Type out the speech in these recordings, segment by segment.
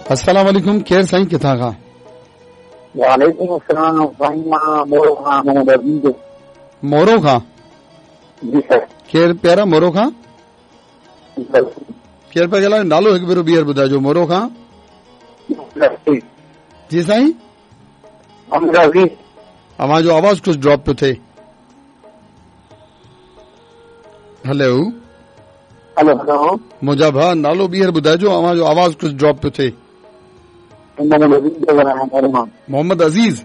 अस्सलाम वालेकुम, केरु साईं, किथां खां? वालेकुम अस्सलाम साईं, मां मोरो खां, मोहम्मद अज़ीज़। मोरो खां? जी सर। केरु प्यारा मोरो खां? केरु पिया ॻाल्हायो? नालो हिकु भेरो ॿीहर ॿुधाइजो। मोरो खां? जी साईं, अव्हां जो आवाज़ कुझु ड्रॉप पियो थिए। हेलो हेलो हेलो, मुंहिंजा भाउ, नालो ॿीहर ॿुधाइजो, अव्हां जो आवाज़ कुझु ड्रॉप पियो थिए। मोहम्मद अज़ीज़।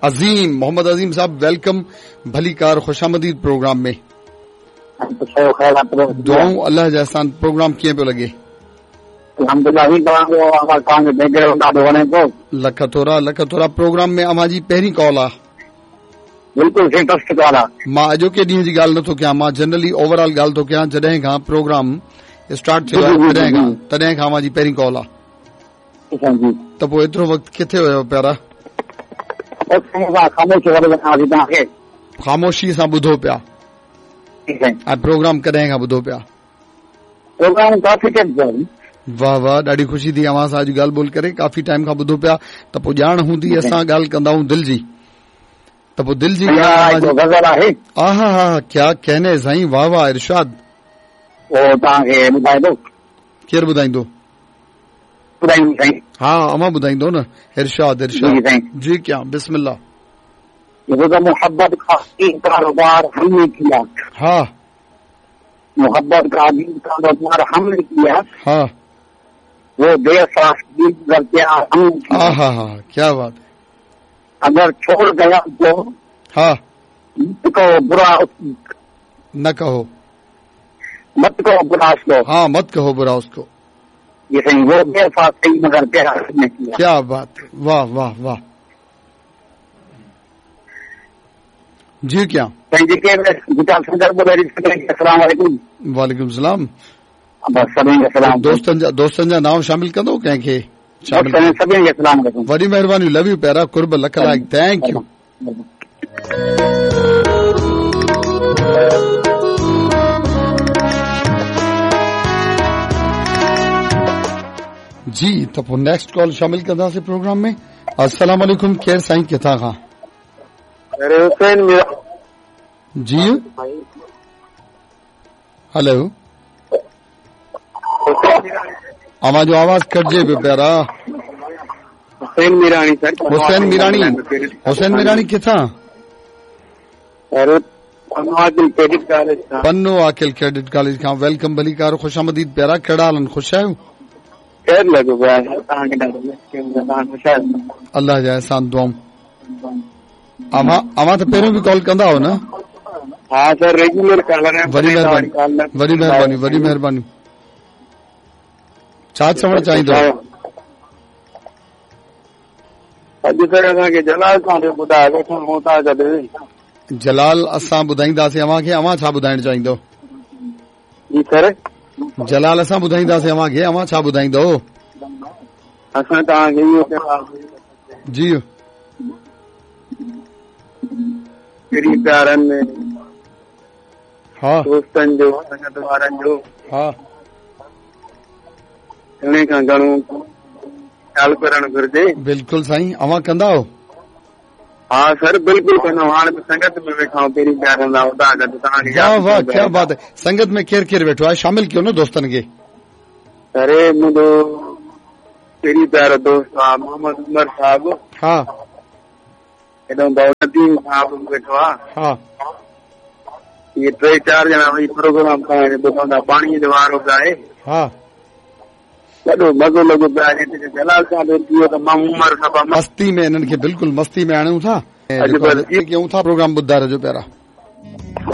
अज़ीम, मोहम्मद अज़ीम साहब, welcome, भलीकार, ख़ुशामदीद प्रोग्राम में। दुआऊं अल्लाह जा एहसान। प्रोग्राम कीअं पियो लॻे? लख थोरा, लख थोरा। प्रोग्राम में अव्हां जी पहिरीं कॉल आहे। बिल्कुल फर्स्ट कॉल आहे। मां अॼोके ॾींहं जी ॻाल्हि नथो कयां, मां जनरली ओवरऑल ॻाल्हि थो कयां। जॾहिं खां प्रोग्राम स्टार्ट थियो आहे तॾहिं खां अव्हां जी पहिरीं कॉल आहे। त पोइ एतिरो वक़्तु किथे हुयो प्यारा? ख़ामोशी सां ॿुधो पिया। ऐं प्रोग्राम कॾहिं खां ॿुधो पिया? प्रोग्राम काफ़ी टाइम। वाह वाह, ॾाढी ख़ुशी थी अव्हां सां अॼु ॻाल्हि ॿोल करे। काफ़ी टाइम खां ॿुधो पिया त पोइ ॼाण हूंदी, असां ॻाल्हि कंदा आहियूं दिलि जी, त पोइ दिलि जी ग़ज़ल आहे। आहा हा, क्या कहने साईं, वाह वाह, इरशाद। तव्हांखे ॿुधाईंदो? केरु ॿुधाईंदो? ॿुधाईंदो साईं। हा, अव्हां ॿुधाईंदो न। इरशाद इरशाद जी, क्या बिस्मिल्लाह। मोहब्बत का कारोबार हमने किया। हाँ, मोहब्बत का अजीब कारोबार हमने किया। हाँ, वो बेसाख्ती क्या हमने किया। हाँ हाँ, क्या बात है। अगर छोड़ गया तो हाँ, मत कहो बुरा, न कहो, मत कहो बुरा उसको। हाँ, मत कहो बुरा उसको। ये सही, वो बेसाख्ती मगर प्यार हमने किया। क्या बात है, वाह वाह वाह जी। क्या वालेकुम सलाम। दोस्तनि जा नाम शामिल कंदो कंहिंखे? वॾी महिरबानी, लव you प्यारा, कुर्ब, लख लाइक़, thank you. जी, त पोइ नेक्स्ट कॉल शामिल कंदासीं प्रोग्राम में। अस्सलाम वालेकुम, केरु साईं, किथां खां? जी, हेलो, अव्हां जो आवाज़ कटिजे पियो प्यारा। हुसैन मीरानी सर। हुसैन मीरानी, हुसैन मीरानी किथां? पन्नो आकिल क्रेडिट कॉलेज खां। Welcome, भलीकार, ख़ुशामदीद प्यारा। कहिड़ा हाल आहिनि, ख़ुशि आहियो? अल्लाह जा एहसान, दुआऊं। अव्हां त पहिरियों बि कॉल कंदा हो न? हा सर, रेगुलर कॉल। वॾी महिरबानी, वॾी महिरबानी, वॾी महिरबानी। छा चवणु चाहींदो? अॼु सर असांखे जलाल सां ॿुधायो। जलाल असां ॿुधाईंदासीं अव्हांखे, अव्हां छा ॿुधाइणु चाहींदो? जी सर, जलाल असां ॿुधाईंदासीं अव्हांखे, अव्हां छा ॿुधाईंदो? असां तव्हांखे इहो जी प्यारनि में, हा, दोस्तनि जो, संगत वारनि जो, हा, घणे खां घणो ख़्यालु करणु घुरिजे। बिल्कुलु साईं, अव्हां कंदा आहियो? हा सर, बिल्कुलु कंदा। हाणे बि संगत में वेठा आहियूं, पहिरीं प्यारनि सां उतां गॾु। तव्हांखे वाह वाह, क्या बात है। संगत में केरु केरु वेठो आहे? शामिल कयो न दोस्तनि खे। अरे मुंहिंजो पहिरीं प्यारो दोस्त आहे मोहम्मद उमर साहब। हा, हेॾो भाउ नदीम साहब वेठो आहे। हा, इहे टे चारि ॼणा वही प्रोग्राम तव्हांजे ॿुधंदा। पाणीअ जो वारो बि आहे। हा, वॾो मज़ो लॻो पियो आहे। जलाल साहब थी वियो त मां उमर साहब मस्ती में, हिननि खे बिल्कुलु मस्ती में आणूं था, कयूं था। प्रोग्राम ॿुधाए रहिजो प्यारा।